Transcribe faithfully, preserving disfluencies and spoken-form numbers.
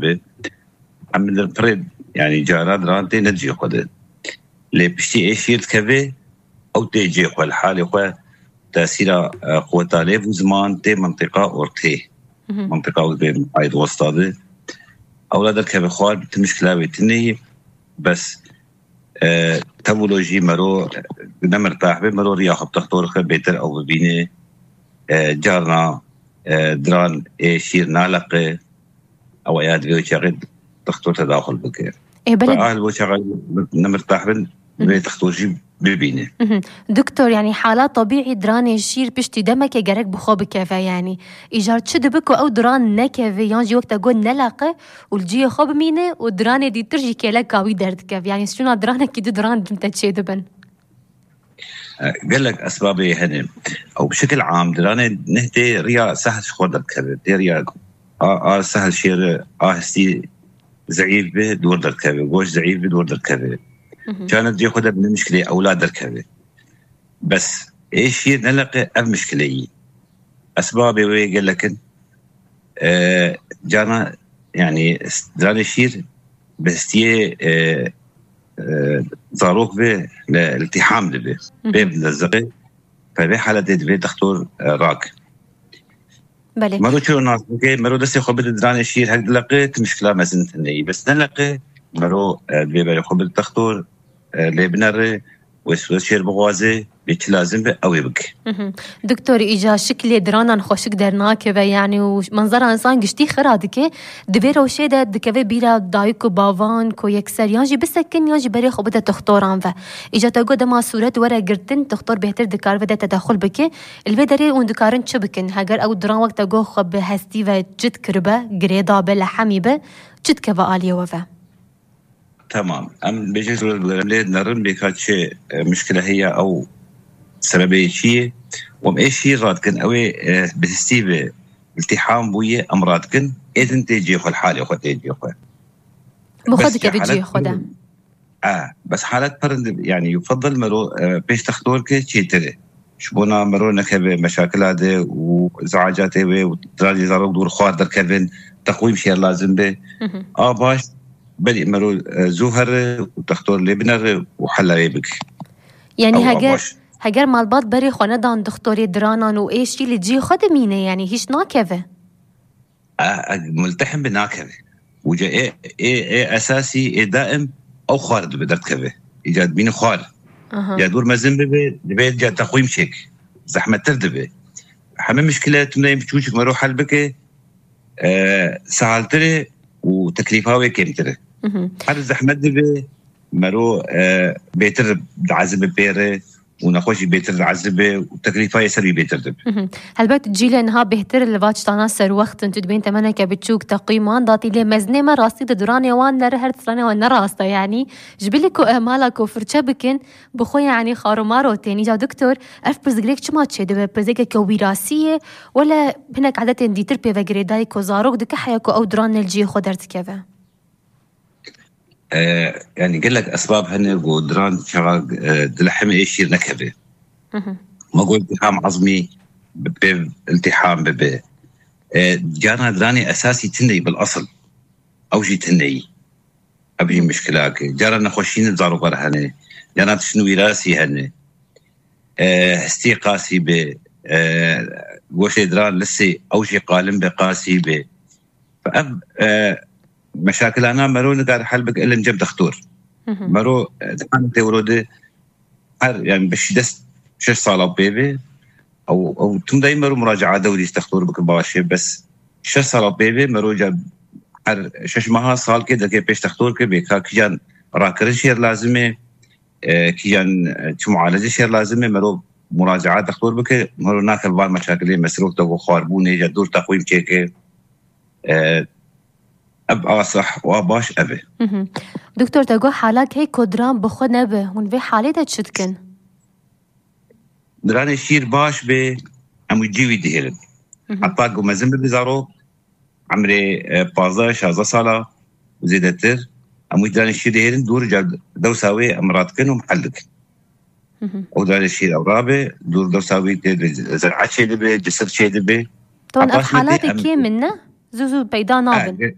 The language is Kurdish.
dibe. Em li pirê, yanî cara diran tê ne cihê xwe de. Lê piştî ê şîr dikeve, ew tê cihê xwe, li halê xwe tesîra, e, quweta lêv û ziman tê mintiqa ortê. Mintiqa wê mayî di westa de. Ewla derkeve xwar, ti mişkila wê tune ye. Bes, e, tev wilo jî mero, e, ne mirtah be, mero riya xwe bi textor xe bêtir ew bibîne. E, carna, e, diran ê şîr naleqe. Ew ya divê wê çaxê textor tedaxul bike. Ê, belê. Ahil bo çaxa ne mirtah bin, vê textor jî bibîne. Doktor, yanî hala tebîî diranê şîr piştî demeke gerek bi xwe bikeve, yanî. Îcar çi dibe ku ew diran nekeve, yan jî wek te got nelaqe û li cihê xwe bimîne û diranê dîtir jî kêleka wî derdikeve? Yanî şûna diranekî du diran din te çêdibin. E, gelek esbabê hene. Ew bi şekil am diranê neh tê riya sehil ji xwe derdikeve. Tê riya a, a sehil şêre, a hestî zeîf bi, dûr derdikeve. Goş zeîf bi, dûr derdikeve. Çanet cê xwe de bi mişkilê ewla derkeve. Bes ê şîr neleqe ev mişkile yî. Esbabê wê gelek in. E, carna, yanî, diranê şîr bi hestiyê, e, e, zarok ve li iltiham dibe. Bê bi lezzeqê, pe vê haletê divê textor, e, rak. Belê. Mero çiro nas bike, mero destê xwe bide diranê şîr hek dileqe, ti mişkila mezin tune yî. Bes neleqe, mero, e, divê berê xwe bide textor, e, lê binere, wê wê şêr bixwaze, bê çi lazim be, ew ê bike. Doktor, îca şiklê diranan xweşik dernakeve, yanî û manzara insan giştî xira dike, di vê rewşê de dikeve bîra dayik û bavan ku yekser yan jî bisekin yan jî berê xwe bide toxtoran ve. Îca te got dema sûret were girtin, toxtor bêhtir dikare vê de tedexul bike. Li vê derê hûn dikarin çi bikin? Heger ew diran wek te got xwe bi hestî ve cid kiribe, girê dabe, lehemî be, çi dikeve aliyê we ve? Tamam. Em bêje lê nerin bêka çi, e, mişkile heye ew sebebê çi ye? Em ê şîr radikin, ew ê, e, bi histî ve iltiham bûye, em radikin, ê din tê cihê xwe, li halê xwe tê cihê xwe. Bi xwe Bes dikeve cihê xwe de. E, bes halet pirin, yanî, yufadil mero, e, pêş textor ke çêtir e. Ji bona mero nekeve meşakila de û zehacatê wê û dirajê zarok dûr xwar derkevin, teqwîm şêr lazim be. A baş, belê mero, e, zû here û textor lê binere û hela wê bike. Yanî Ew a heger, baş. Heger malbat berê xwe nedan dixtorê diranan û ê şî li cihê xwe dimîne, yanî hîç nakeve. E, e, multehim bi nakeve. Û ca ê, ê, ê esasî, ê daim ew xwar dibe derdikeve. Îca dibîne xwar. Aha. Ya dûr mezin bibe, dibe ca teqwîm çêk. Zehmettir dibe. Heme mişkile tune em çûçik mero hel bike, e, sehaltir e û teklîfa wê kêmtir e. Her zehmet dibe, mero, e, bêtir diazibe pê re û nexweşî bêtir diazibe û teklîfa yê ser wî bêtir dibe. Helbet cîlê niha bêhtir li va tiştana serwext in, tu dibên temeneke biçûk teqwîman datî lê mezinê me rastî di duranê wan nere her stranê wan ne rast e, yanî ji bilî ku, e, mala ku firçe bikin, bi xwe, yanî, xarûmaro tên. Îca doktor, ev pirsgirêk çima çêdibe? Pirsgirêkeke wîrasî ye, wele hinek edetên dîtir pê ve girêdayî ku zarok dike heya ku ew diran ne li cihê xwe derdikeve? E, yanî gelek esbab hene ku diran çaxa, e, dilehemê ê şîr nekeve. Ma got iltiham ezmî bi pêv iltiham bibe. E, carna diranê esasî tune yî bil esil. Ew jî tune yî. Ev jî mişkilak e. Cara nexweşî ne zarokar hene. Cara tiştin wîrasî hene. E, hestî qasî be. E, goşê diran lisê ew jî qalim be qasî be. Ev, e, meşakilana mero nikare hel bike ilin cem dextor. Mero, e, dikan tewro de her, yani, bi şeş, şeş sala pê ve, ew, ew tim dey mero muraca'a dewrî dextor bike baş e, bes şeş sala pê ve mero ca her şeş maha salkê deke pêş dextor ke bê ka kijan rakirin şêr lazim e, e, kijan, e, çi mualece şêr lazim e, mero muraca'a dextor bike, mero nake van meşakilê mesrûf de xwarbûnê, ca dûr teqwîm çêke. E, ev asah û a baş ev e. Doktor, te got halak heye ku diran bi xwe nebe. Hûn vê halê de çi dikin? Diranê şîr baş be, em wî cî wî dihêlin. Heta ku mezin bibe zarok, emrê, e, pazdeh, şazdeh sala û zêdetir, em wî diranê şîr dihêlin, dûr ca dewsa wê em radikin û mehel dikin. Ew diranê şîr ew rabe, dûr dewsa wî tê de zer'a çêdibe, cisir çêdibe. Tawan ev Apaş me tê halatê em kêm in, ne? Zû zû peyda nabin. E,